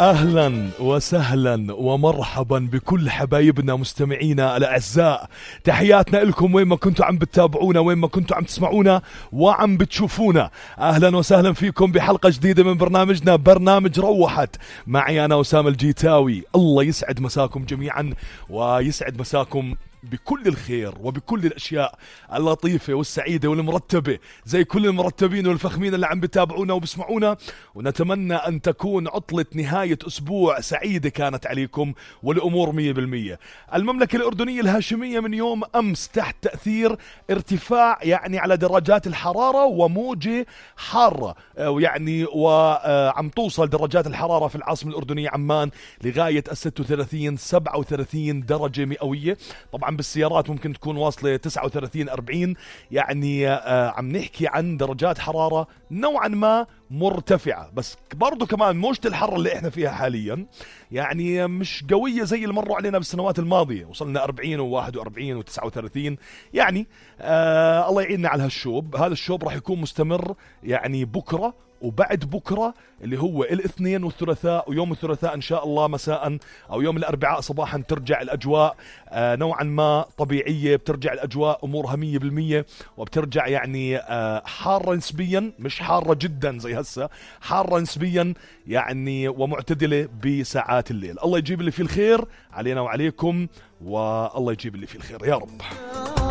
أهلا وسهلا ومرحبا بكل حبايبنا مستمعينا الأعزاء. تحياتنا لكم وين ما كنتوا عم بتتابعونا، وين ما كنتوا عم تسمعونا وعم بتشوفونا. أهلا وسهلا فيكم بحلقة جديدة من برنامجنا برنامج روحت، معي أنا أسامة الجيتاوي. الله يسعد مساكم جميعا ويسعد مساكم بكل الخير وبكل الأشياء اللطيفة والسعيدة والمرتبة زي كل المرتبين والفخمين اللي عم بتابعونا وبسمعونا. ونتمنى أن تكون عطلة نهاية أسبوع سعيدة كانت عليكم والأمور 100%. المملكة الأردنية الهاشمية من يوم أمس تحت تأثير ارتفاع يعني على درجات الحرارة وموجة حارة، وعم توصل درجات الحرارة في العاصمة الأردنية عمان لغاية 36-37 درجة مئوية. طبعا بالسيارات ممكن تكون واصلة 39-40، يعني عم نحكي عن درجات حرارة نوعا ما مرتفعة، بس برضو كمان موجة الحر اللي احنا فيها حاليا يعني مش قوية زي اللي مروا علينا بالسنوات الماضية، وصلنا 40 و41 و39. يعني الله يعيننا على هالشوب. هذا الشوب راح يكون مستمر يعني بكرة وبعد بكرة اللي هو الاثنين والثلاثاء، ويوم الثلاثاء إن شاء الله مساء أو يوم الأربعاء صباحا ترجع الأجواء نوعا ما طبيعية، بترجع الأجواء أمورها 100%، وبترجع يعني حارة نسبيا، مش حارة جدا زي هسه، حارة نسبيا يعني ومعتدلة بساعات الليل. الله يجيب اللي فيه الخير علينا وعليكم، والله يجيب اللي فيه الخير يا رب.